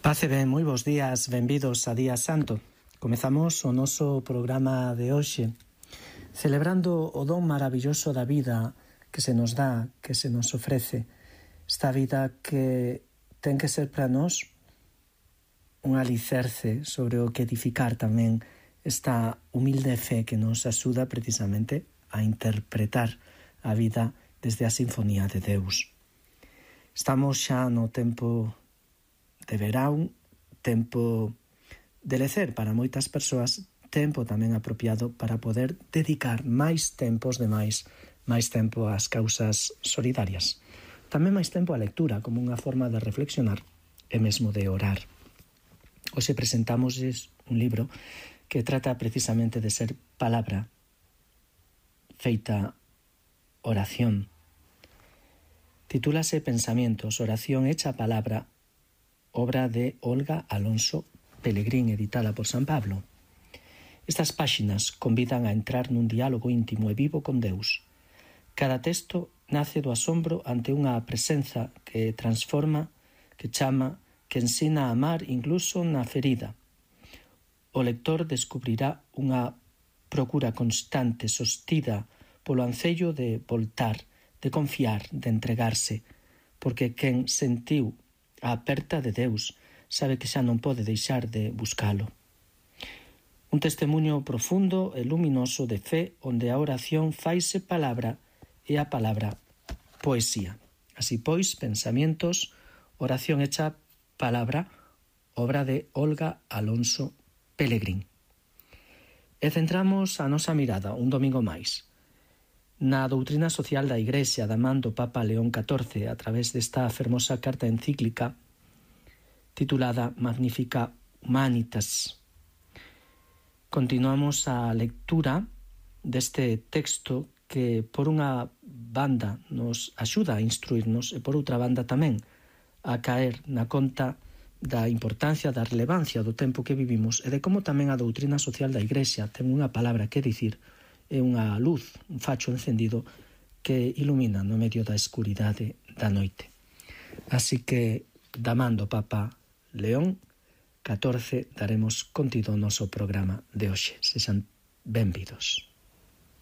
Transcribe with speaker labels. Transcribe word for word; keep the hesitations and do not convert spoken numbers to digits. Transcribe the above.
Speaker 1: Pace ben, moi bons días, benvidos a Día Santo. Comezamos o noso programa de hoxe celebrando o don maravilloso da vida que se nos dá, que se nos ofrece. Esta vida que ten que ser para nós un alicerce sobre o que edificar tamén esta humilde fe que nos axuda precisamente a interpretar a vida desde a sinfonía de Deus. Estamos xa no tempo de verán, tempo de lecer para moitas persoas, tempo tamén apropiado para poder dedicar máis tempos de máis, máis tempo ás causas solidarias. Tamén máis tempo á lectura como unha forma de reflexionar e mesmo de orar. Hoxe presentamos un libro que trata precisamente de ser palabra feita oración. Titúlase Pensamientos, oración hecha palabra, obra de Olga Alonso Pelegrín, editada por San Pablo. Estas páxinas convidan a entrar nun diálogo íntimo e vivo con Deus. Cada texto nace do asombro ante unha presenza que transforma, que chama, que ensina a amar incluso na ferida. O lector descubrirá unha procura constante sostida polo ancello de voltar, de confiar, de entregarse, porque quen sentiu a aperta de Deus sabe que xa non pode deixar de buscalo. Un testemunho profundo e luminoso de fe onde a oración faise palabra e a palabra poesía. Así pois, Pensamientos, oración hecha palabra, obra de Olga Alonso Pelegrín. E centramos a nosa mirada un domingo máis na doutrina social da Igrexa da man do Papa León catorce a través desta fermosa carta encíclica titulada Magnificat Humanitas. Continuamos a lectura deste texto que por unha banda nos axuda a instruirnos e por outra banda tamén a caer na conta da importancia, da relevancia do tempo que vivimos e de como tamén a doutrina social da Igrexa ten unha palabra que dicir e unha luz, un facho encendido que ilumina no medio da escuridade da noite. Así que, da man do Papa León catorce, daremos contido ao noso programa de hoxe. Sexan benvidos.